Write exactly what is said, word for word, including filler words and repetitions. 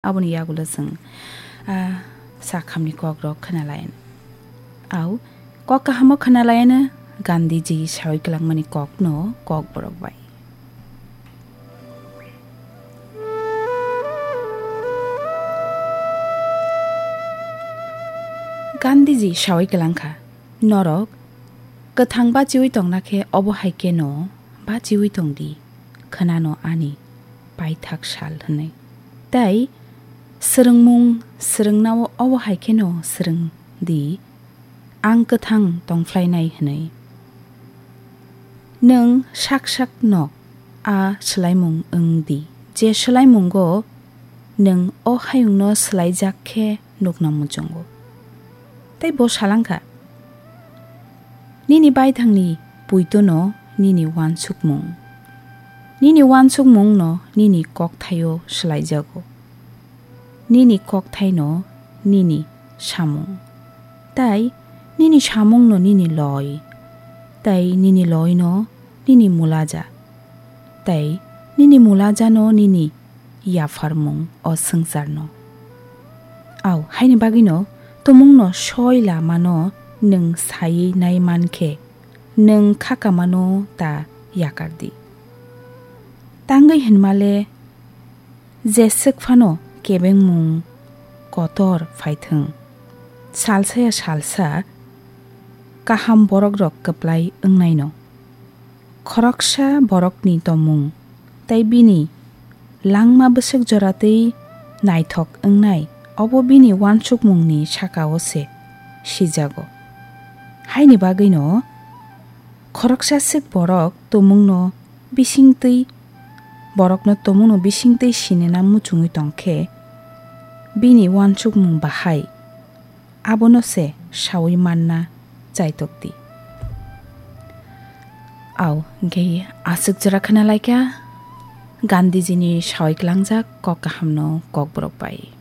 Aboni yagulo chwng, ah, sakhamni kokrok khwnalayan. Au, kok kahamo khwnalayan, Gandhiji sawi kwlangmani kokno kokborok bai. Gandhiji sawi kwlangkha, "Norok kwthang bachiwi tongna khe obo hai kheno bachiwi tongdi, khwnano ani paithak sal," hwnwi. Tei swrwngmung swrwngnao obo hai kheno swrwng di, "Ang kwthang tongphlainai," hwnwi. Nwng sak sak no a swlaimung wng di, je swlaimungo nwng o hayungno swlaijak khe nukna muchungo. Tei bo salangkha, "Nini baithangni puitono nini uansukmung, nini uansukmungno nini kokthaio swlaijago. Nini kokthaino nini samung, tei nini samungno nini loi, tei nini loino nini mulaja, tei nini mulajano nini yapharmung o swngcharno." Au, haini bagwino tumungno soi lamano nwng saiwi nai man khe, nwng khakamano ta yakar di. Tangwi hwnmale, jeswk phano kebengmung kotor phaithwng, salsa ya salsa kaham borokrok kwplai wngnaino. Khoroksa borokni tongmung tei bini langma bwswk jora tei naithok wngnai, obo bini uansukmungni sakao se sijago. Haini bagwino khoroksa swk borok tumungno bisingtwi, borokno tumungno bisingtwi sinina muchungwi tongkhe, bini uansukmung bahai abono se sawi manna chaitok di. Au, hwnkhe aswk jora khwnalaikha Gandhijini sawi kwlangjak kok kahamno kokborok bai.